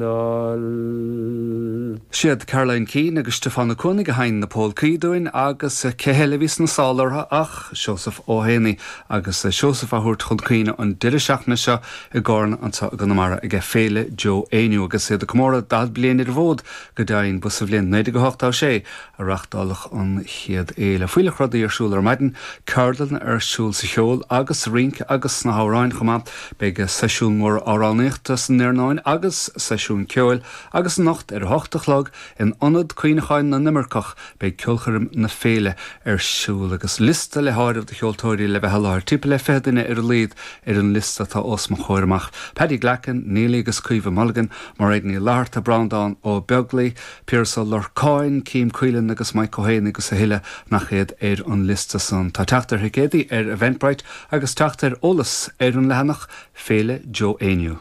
L. Siad Caroline Keane agus Stiofán Ó Cuanaigh a sheinn na pólcaí dúinn agus cé heile a bhí sna sála orthu ach Seosamh Ó hÉanaí agus Seosamh á thabhairt chun cuimhne an deireadh seachtaine seo i gCarna anseo i gConamara ag Féile Joe Éinniú agus iad ag comóradh 40 bliain ar an bhfód go deimhin. Ba sa bhliain 1986 a reachtáladh an chéad fhéile. Fuílleach rudaí ar siúl ar maidin, ceardlanna ar siúl sa cheol agus sa rince agus sna hamhráin chomh maith. Beidh seisiún mór amhránaíochta san iarnóin agus seisiún ceoil agus anocht ar a hocht a chlog in Ionad Cuimhneacháin na nImirceach beidh ceolchoirm na féile ar siúl agus liosta le háireamh de cheoltóirí le bheith i láthair, timpeall le 20 duine ar a laghad ar an liosta atá os mo chomhair amach, Paddy Glackin, Neilí agus Caoimhe Mulligan, Mairéad Ní Fhlatharta, Breandán Ó Beaglaoi, Piaras Ó Lorcáin, Kim Caolan agus Mike Ó hÉanaí agus a thuilleadh nach iad ar an liosta san. Tá teacht ar thicéadaí ar Eventbrite agus teacht ar eolas ar an leathanach Féile Joe Éinniú.